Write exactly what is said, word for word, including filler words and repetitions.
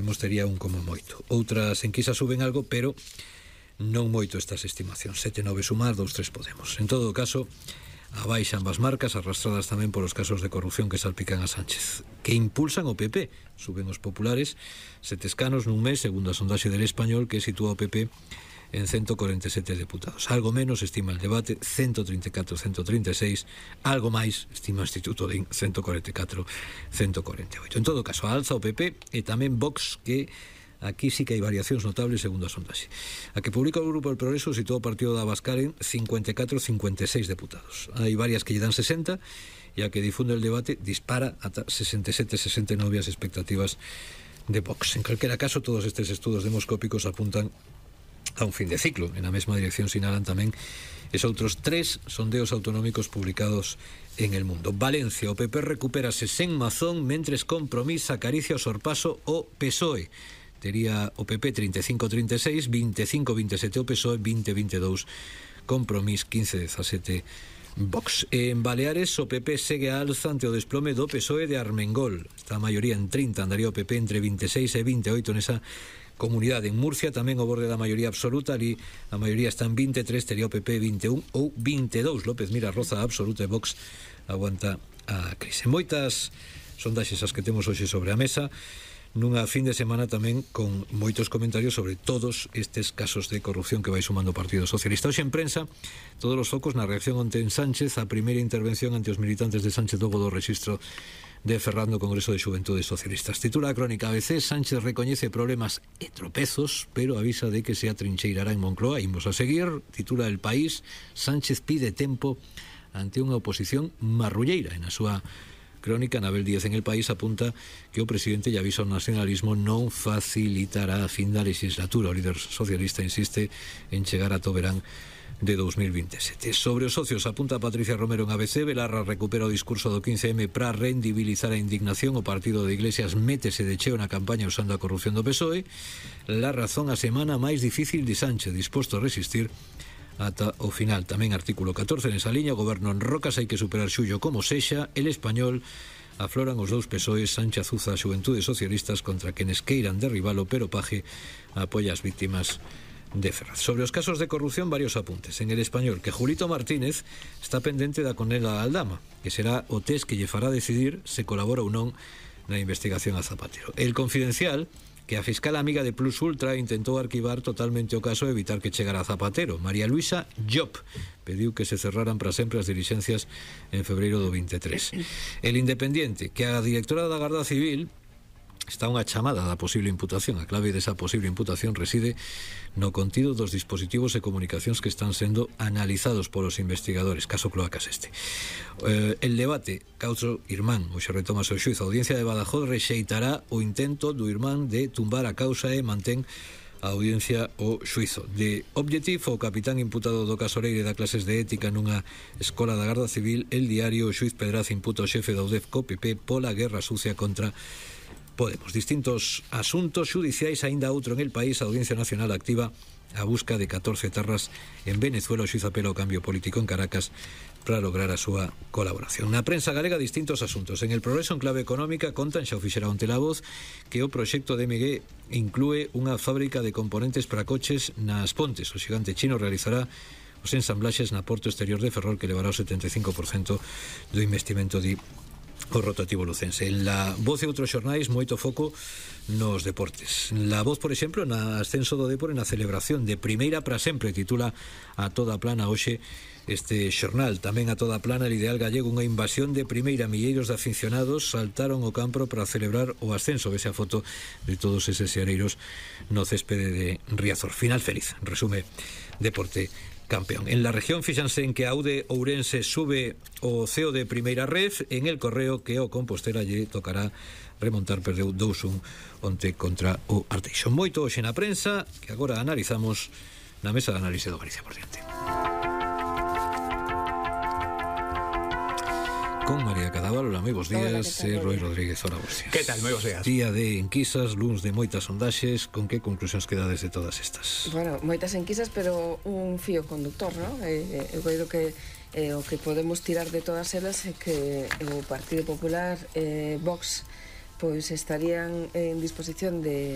Podemos tería un como moito. Outras enquisas suben algo, pero non moito estas estimacións. sete nove sumar, dous tres Podemos. En todo caso, abaixan ambas marcas, arrastradas tamén por os casos de corrupción que salpican a Sánchez, que impulsan o P P. Suben os populares sete escanos nun mes, segundo a sondaxe del Español, que sitúa o P P en ciento cuarenta y siete deputados. Algo menos estima el debate, ciento treinta y catro a ciento treinta y seis. Algo máis estima o Instituto de ciento cuarenta y catro a ciento cuarenta y oito. En todo caso, alza o P P e tamén Vox, que aquí sí que hai variacións notables segundo a sondaxe. A que publica o Grupo del Progreso situou o partido de Abascal en cincuenta y catro a cincuenta y seis deputados. Hai varias que lle dan sesenta e a que difunde el debate dispara ata sesenta y sete a sesenta y nove as expectativas de Vox. En calquera caso, todos estes estudos demoscópicos apuntan a un fin de ciclo. En a mesma dirección sinalan tamén es outros tres sondeos autonómicos publicados en El Mundo. Valencia, o P P recupérase sen Mazón, mentres Compromís acaricia o sorpaso o P S O E. Tería o P P treinta y cinco a treinta y seis, veinticinco a veintisiete o P S O E, veinte a veintidós Compromís, quince a dezasete Vox. En Baleares, o P P segue a alza ante o desplome do P S O E de Armengol. Está a maioría en trinta, andaría o P P entre vinte e seis e vinte e oito nesa comunidade. En Murcia tamén o borde da maioría absoluta, ali a maioría está en vinte e tres, tería o P P vinte e un ou vinte e dous. López Mira Roza absoluta e Vox aguanta a crise. Moitas sondaxes as que temos hoxe sobre a mesa, nunha fin de semana tamén con moitos comentarios sobre todos estes casos de corrupción que vai sumando o Partido Socialista. Hoxe en prensa, todos os focos na reacción onte en Sánchez, a primeira intervención ante os militantes de Sánchez logo do rexistro de Ferrando Congreso de Xuventudes Socialistas. Titula a crónica A B C: Sánchez recoñece problemas e tropezos, pero avisa de que se atrincheirará en Moncloa. Imos a seguir. Titula El País: Sánchez pide tempo ante unha oposición marrulleira. En a súa crónica, Anabel Díaz en El País apunta que o presidente lle avisa ao nacionalismo non facilitará a fin da legislatura. O líder socialista insiste en chegar a verán de dos mil veintisiete. Sobre os socios, apunta Patricia Romero en A B C: Belarra recupera o discurso do quince eme para rendibilizar a indignación. O partido de Iglesias métese de cheo na campaña usando a corrupción do P S O E. La Razón: a semana máis difícil de Sánchez, disposto a resistir ata o final. Tamén artículo catorce nesa liña: o goberno en Rocas, hai que superar xullo como sexa. El Español: afloran os dous P S O Es. Sánchez azuza a Xuventudes Socialistas contra quenes queiran derribalo, pero Paje apoia as víctimas de Ferraz. Sobre os casos de corrupción, varios apuntes. En El Español, que Julito Martínez está pendente da condena a Aldama, que será o test que lle fará decidir se colabora ou non na investigación a Zapatero. El Confidencial, que a fiscal amiga de Plus Ultra intentou arquivar totalmente o caso e evitar que chegara a Zapatero. María Luisa Llop pediu que se cerraran para sempre as dilixencias en febreiro do vinte e tres. El Independiente, que a directora da Garda Civil está unha chamada da posible imputación. A clave desa posible imputación reside no contido dos dispositivos e comunicacións que están sendo analizados polos investigadores, caso Cloacas este. Eh, el debate, causa Irmán, hoxe retoma o xuizo. A Audiencia de Badajoz rexeitará o intento do Irmán de tumbar a causa e mantén a audiencia o xuizo. De Objective, o capitán imputado do caso Leire da clases de ética nunha escola da Garda Civil. El Diario: o xuiz Pedraz imputa o xefe da U D E F co P P pola guerra sucia contra Podemos. Distintos asuntos xudiciais, aínda outro en El País: a Audiencia Nacional activa a busca de catorce etarras en Venezuela. O xuiz apela ao cambio político en Caracas para lograr a súa colaboración. Na prensa galega, distintos asuntos. En El Progreso, en clave económica, contan, xa o fixera onte La Voz, que o proxecto de M G inclúe unha fábrica de componentes para coches nas Pontes. O xigante chino realizará os ensamblaxes na Porto Exterior de Ferrol, que levará o setenta e cinco por cento do investimento de o rotativo lucense. En La Voz e outros xornais, moito foco nos deportes. La Voz, por exemplo, na ascenso do Dépor, na celebración de primeira para sempre, titula a toda plana hoxe este xornal. Tamén a toda plana el Ideal Gallego: unha invasión de primeira. Milleiros de aficionados saltaron o campo para celebrar o ascenso. Vese a foto de todos eses xareiros no céspede de Riazor. Final feliz, resume Deporte Campeón. En La Región, fíxanse en que a Aude Ourense sube o ceo de primeira ref. En El Correo, que o Compostela lle tocará remontar, perdeu dous un onte contra o Arteixo. Moito hoxe na prensa, que agora analizamos na mesa de análise do Galicia por diante. Con María Cadaval, hola, moi bons días. E Roi Rodríguez, hola, bons días. Que tal, moi bons días. Día de enquisas, luns de moitas sondaxes. Con que conclusións quedades de todas estas? Bueno, moitas enquisas, pero un fío conductor, non? Eh, eu creo que eh, o que podemos tirar de todas elas é que o Partido Popular, eh, Vox, pois estarían en disposición de